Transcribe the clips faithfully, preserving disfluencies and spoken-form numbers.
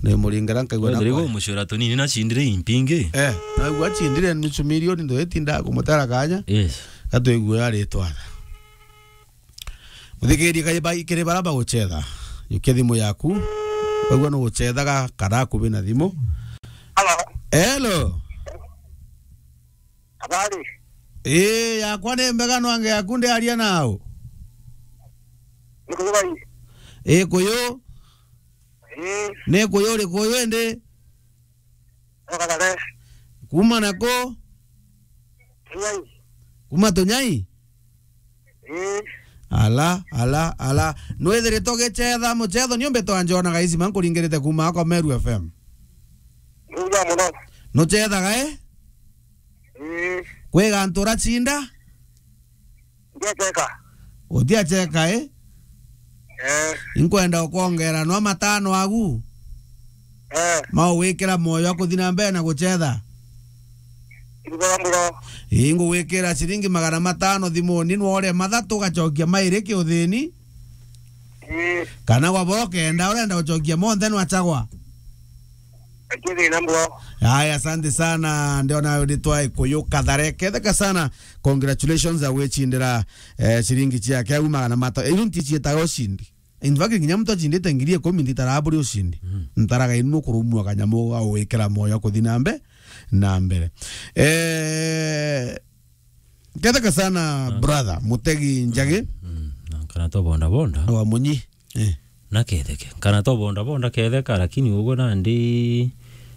Ni muringera nkaigua na Ndiri kwa. Gumucura tunini na cindire impingi. Eh, naigua cindire nusu milioni ndo itinda kumutara kanya. Yes. Gatwigua ari twatha. Muthikiriria kai bai kiri bara bagucetha. Yukia thimu yaku. Waigua nugucethaga kana akubi na thimu. Hello. Hello. Habari? Ii, yakwa ni mbega, nwange yaku ndiaria nau. Ni kuyu bai? Ii, kuyu. Ii. Ni kuyu uri kuyu indi? Ni Kathare. Kuma na ku? Tunyai. Kuma Tunyai? Ii. Ala, ala, ala. Nwithiritwe ugicetha mucetho? Ni umbe twanjonaga icima nkuringirite kuma ako Meru F M. Mbuya muno. Nucethaga, eh? Ii. Kwi gantu uracinda? Ndiacheka. Utiacheka, eh? Eh. Inkwenda ukwongera no matano agu. Eh. Mau wikira moyo wa kuthi na mbere na gucetha. Ndibora mbura. Ii, ngugwikira ciringi magana matano thimuni, nwore mathatu ugacokia mairi kiuthini. Ii. Kana gwabora ukenda, urenda gucokia monthe nwachagwa. Akiri na mbura. Haya, asante sana. Ndiona ritwa Ikuyu Kathare. Ketheka sana. Congratulations ya gwicindira, eh, ciringi ciake au magana mata. Iu nti cietaga ucindi. In fact, nginya muntu acindite ngiri ikumi ntitaraga buri ucindi. Mm. Ntaraga inu kurumua kanyamu ga gwikira moyo kuthi na mbe-, na mbere. Eh, ketheka sana, brother, Mutegi Njagi. Mm. Na kana to bonda bonda. Wa Munyi. Eh. Na ketheke. Kana to bonda bonda ketheka, lakini uguo nandi,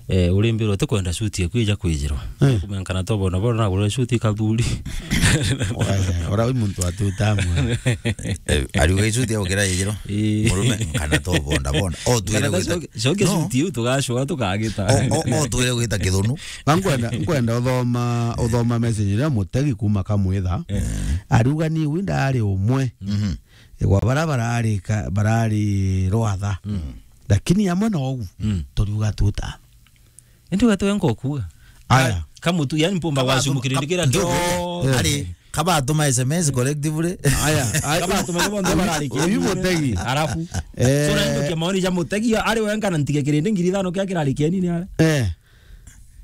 eh, urimbirwo ti kwenda suti eku ija kwijirwa. Eh. Kumenya kana to bonda bonda nagurire suti kathuri. Ora wi muntu atuta amwe. Eh, ariuga icuti ya gukira ijiro. Ii. Murume, kana to bonda bonda. O twire Kana to gwita coke, coke No. Suti iu tugacua tukagita. O, o, o twire gwita kithunu. Na nkwenda, nkwenda uthoma, uthoma message iria Mutegi kuma Kamwitha. Eh. Ariuga ni wi ndari umwe. Mhm. Igwa bara barari ka-, barari rwatha. Mm. Lakini amwe na ugu, Mm. turiuga tuta. Indi ugatwe nko kuga. Aya. Ka-, kamutu, yani mpumba Kaba gwacumu tu-, kirindi kab-, kiria ndugu, kio. Eh. Ari, kabatuma S M S collectively. Aya, aya, Kabatuma ni bonthe barari uyu kirindi. Mutegi. Arafu. Eh. So, na ndukia maoni ja Mutegi, ari wenka na ntige kirindi ngiri ithano kia kirari kieni ni ara. Eh.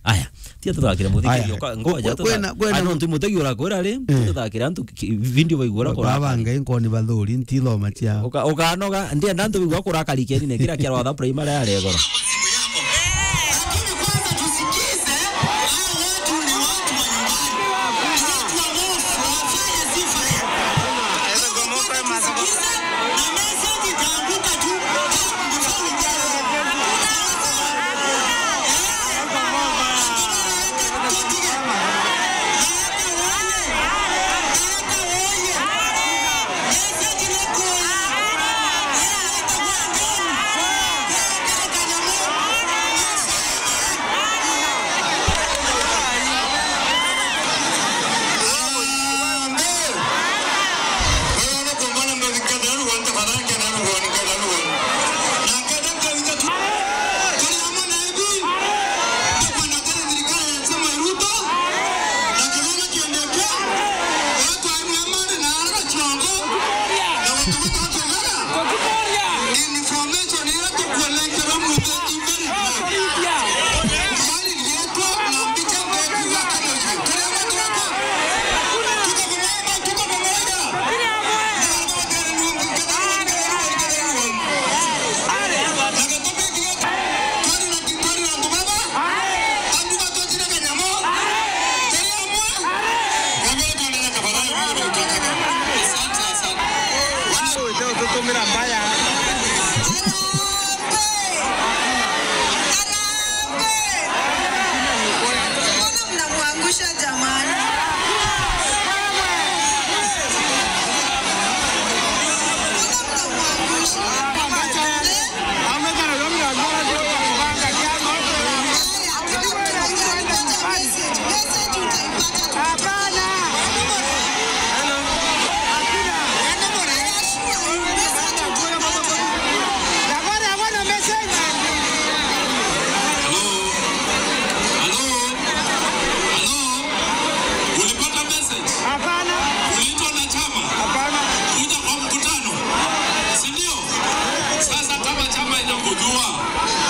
Aya, tia tuthakire Mutegi. Aya. Oka-, ngoja Kwe-, kwena, tuthakire. Kwena Ano ntu Mutegi urakwira ri, Eh. tuthakire antu ki-, video baigua urakora. Baba Ngai nkoni bathuri, ntithoma ciao. Uka-, ukanoga, ndienda antu baigua kurakari kieni ne kira kia rwatha primary ya regoro.